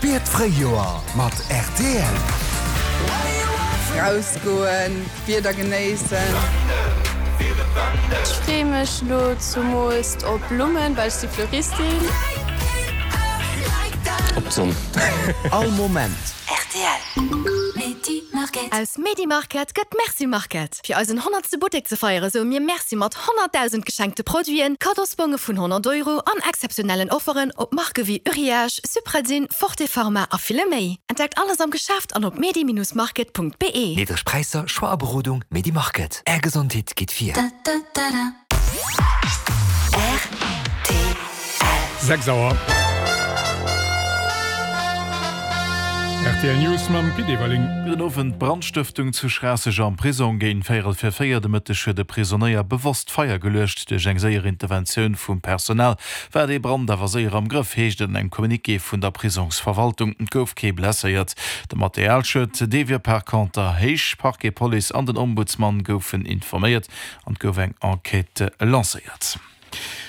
Spier d'Fréijoer mat rtl. Rausgoen, d'Wieder genéissen. Ech freeë mech lo zumools op Blummen, well ech si Fleuristin. Op d'Sonn. All Moment. Rtl. Aus Medi-Market gëtt Merci Market. Fir eisen honnertste Buttek ze feiere soe mir Merci mat 100.000 geschenkte Produiten, Kaddosbonge vun 100 Euro an exzeptionellen Offeren op Marke wéi Uriage, Supradyn, Forte Pharma a ville méi. Entdeckt alles am Geschäft an op medi-market.be. Niddreg Präisser, Choix a Berodung, Medi-Market. Är Gesondheet geet vir. 6 Auer. Rtl News mam Pit Everling. Gudden Owend. Brandstëftung zu Schraasseg am Prisong. Géint véierel vir 4 de Mëtteg huet e Prisonéier bewosst Feier geluecht. Duerch eng séier Interventioun vum Personal war dee Brand awer séier am Grëff, heescht et an engem Communiqué vun der Prisongsverwaltung. Et gouf kee blesséiert. De Materialschued, dee wier par conter héich. Parquet, Police an den Ombudsman goufen informéiert. An et gouf eng Enquête lancéiert.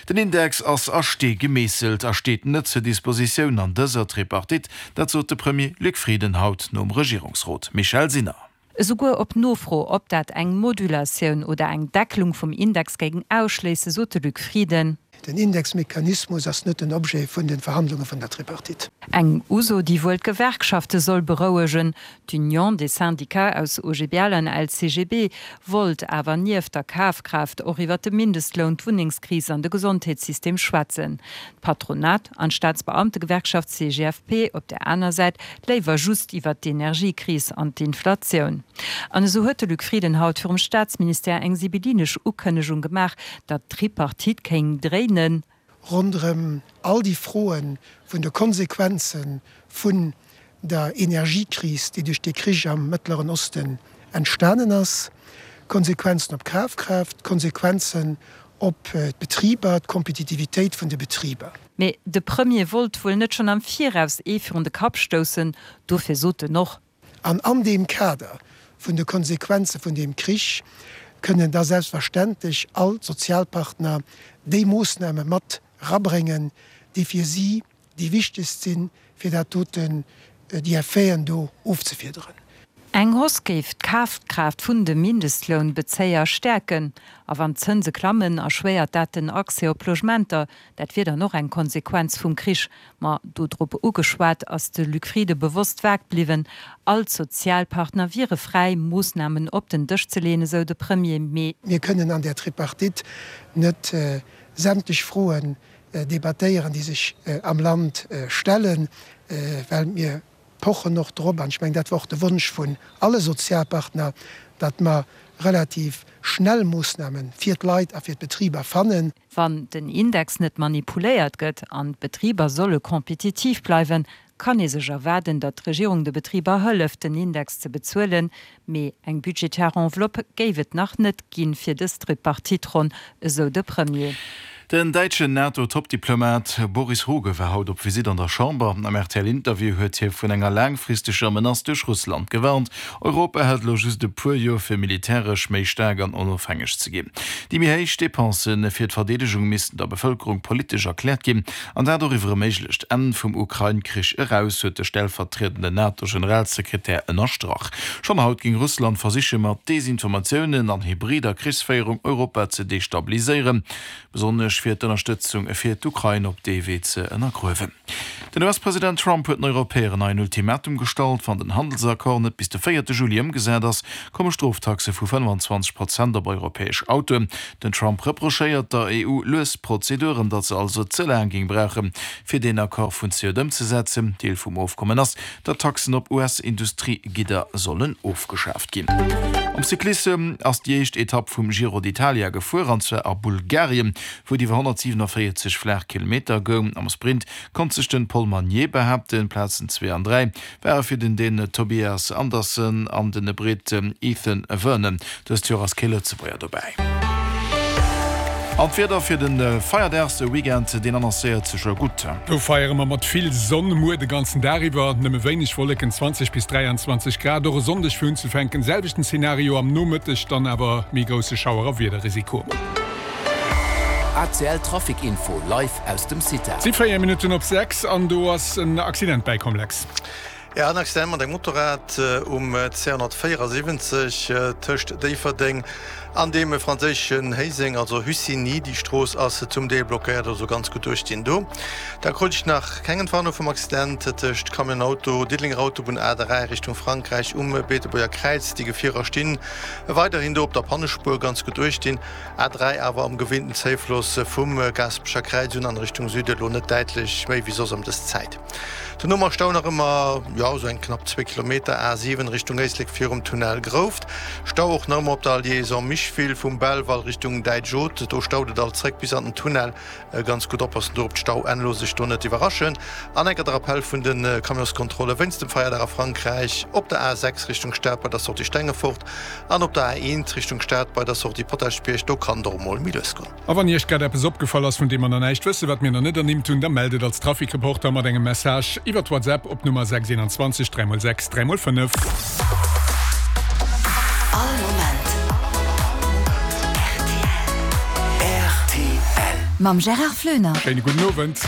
Den Index ass a Stee gemeesselt a steet net zur Dispositioun an dëser Tripartite. Dat sot de Premier Luc Frieden haut nom Regierungsrot. Michèle Sinner. Esouguer op Nofro, ob dat eng Modulatioun oder eng Deckelung vum Index géing ausschléissen, sot de Luc Frieden. Den Indexmechanismus ass net den Objet vun de Verhandlunge vun der Tripartite. Eng Uso, déi wuel d'Gewerkschafte soll berouegen. D'Union des Syndicats aus OGBL an LCGB wollt awer nieft der Kafkraaft och iwwer de Mindestloun, d'Wunnengskris an de Gesondheetssystem schwätzen. D'Patronat an d'Staatsbeamtegewerkschaft CGFP op där aner Säit léiwer just iwwer d'Energiekris an d'Inflatioun. An esou huet de Luc Frieden haut virum Staatsministère eng sibyllinesch Ukënnegung gemaach, datt d'Tripartite kéing dréinen. Ronderëm all déi Froe vun de Konsequenze vun der Energiekris, déi duerch dee Krich am Mëttleren Osten entstanen ass, Konsequenzen op d'Kafkraaft, Konsequenzen op d'Betriber, d'Kompetitivitéit vun de Betriber. Mee de Premier wollt wuel net schonn am Viraus ee virun de Kapp stoussen, dofir sot en och. An an deem Kader vun de Konsequenze vun deem Krich kënnen da selbstverständlech all d'Sozialpartner déi Moossname mat erabréngen, déi fir si déi wichtegst sinn, fir dat doten, déi Effeten do ofzefiederen. Eng Hausse géif d'Kafkraaft vun de Mindestlounbezéier stäerken. A wann d'Zënse klammen, erschwéiert dat den Accès op Logementer. Dat wier dann och eng Konsequenz vum Krich. Ma dodrop ugeschwat, ass de Luc Frieden bewosst vag bliwwen. All d'Sozialpartner wiere fräi, Moossnamen op den Dësch ze leeën, esou de Premier. Mee. Mir kënnen an där Tripartite net sämtlech Froen debattéieren, déi sech am Land stellen, well mir pochen och drop, an ech mengen, dat war och de Wonsch vun alle Sozialpartner, datt mer relativ schnell Moossname fir d'Leit a fir d'Betriber fannen. Wann den Index net manipuléiert gëtt an d'Betriber solle kompetitiv bleiwen, kann ee sech erwaarden, datt d'Regierung de Betriber hëlleft, den Index ze bezuelen. Mee eng budgetär Enveloppe géif et nach net ginn fir dës Tripartite-Ronn, esou de Premier. Den däitschen NATO-Toppdiplomat Boris Rogge war haut op Visitt an der Chamber. Am RTL-Interview huet hie vun enger laangfristeger Menace duerch Russland gewarnt. Europa hätt elo just e puer Joer fir militäresch méi staark an onofhängeg ze ginn. Déi méi héich Depense fir d'Verdeedegung missten der Bevëlkerung politesch erkläert ginn, an dat och iwwer e méiglecht Enn vum Ukrain-Krich eraus, huet de stellvertriedenden NATO-Generalsekretär ënnerstrach. Schonn haut géing Russland versiche mat Desinformatiounen an hybrider Krichsféierung Europa ze destabiliséieren, besonnesch fir d'Ënnerstëtzung fir d'Ukrain op dee Wee ze ënnergruewen. Den US-President Trump huet den Europäer en neien Ultimatum gestallt, Wann den Handelsaccord net bis de véierte Juli ëmgesat ass, komme Stroftaxe vu 25 Prozent op europäesch Autoen. Den Trump reprochéiert der EU lues Prozeduren, datt se also ze laang géing brauchen, fir deen Accord vun zejoert ëmzesetzen. Deel vum Ofkommen ass, datt Taxen op US-Industriegidder sollen ofgeschaaft ginn. Am Cyclissem ass déi éischt Etapp vum Giro d'Italia gefuer, an zwar a Bulgarien, wou et iwwer 147 flaach Kilometer goung. Am Sprint konnt sech den Paul Magnier behaapten. Plazen 2 an 3 ware fir den Dän Tobias Andersen an den Britt Ethan Vernon. Dëst Joer ass kee Lëtzebuerger dobäi. An d'Wieder fir de Feierdagsweekend, deen annoncéiert sech jo gutt. Do feiere mer mat vill Sonn, muer de ganzen Dag iwwer nëmme wéineg Wolleken, 20 bis 23 Grad. Och e Sonndeg fir unzefänken selwechten Zenario, am Nomëtteg dann awer méi grousse Schauer a Wiederrisiko. ACL Trafic Info live aus dem CITA. Et si 4 Minutten op 6 an do ass en Accident bäikomm, Lex. Jo, en Accident mat engem Motorrad um 274 tëscht Déifferdeng an dem franséischen Héiseng, also Hussigny. Déi Strooss ass zum Deel blockéiert, also ganz gutt duerchstinn do. Da krut ech nach keng Entwarnung vum Accident tëscht Camion Auto, Diddelenger Autobunn A3 Richtung Frankräich um Beetebuerger Kräiz. Déi Gefierer stinn weiderhin do op der Pannespuer, ganz gutt duerchstinn. A3 awer am gewinnten Zéifloss vum Gaasperecher Kräiz un an Richtung Süde elo net däitlech méi wéi soss ëm dës Zäit. Dono mar Stau nach ëmmer, jo esou eng knapp zwee Kilometer, A7 Richtung Éislek virum Tunnel Grouft. Stau och nach ëmmer op der Liaison Micheville vum Belval Richtung Däitsch Haute, do staut et alt zréck bis an den Tunnel. Ganz gutt oppassen do op d'Stauenn, looss sech do net iwwerraschen. An enker de Rappell vun de Camionskontrolle wéinst dem Feierdag a Frankräich, op der A6 Richtung Stad bei der Sortie Stengefort an op der A1 Richtung Stad bei der Sortie Potaschbierg, do kann et och emol méi lues goen. A wann Iech grad eppes opgefall ass, vun deem mer nach näischt wëssen, wat mir nach net ernimmt hunn, da mellt et als Trafikreporter mat engem Message iwwert WhatsApp op d'Nummer 621 3 x 6 3 x 5. All Moment rtl. Mam Gérard Floener. Schéine gudden Owend.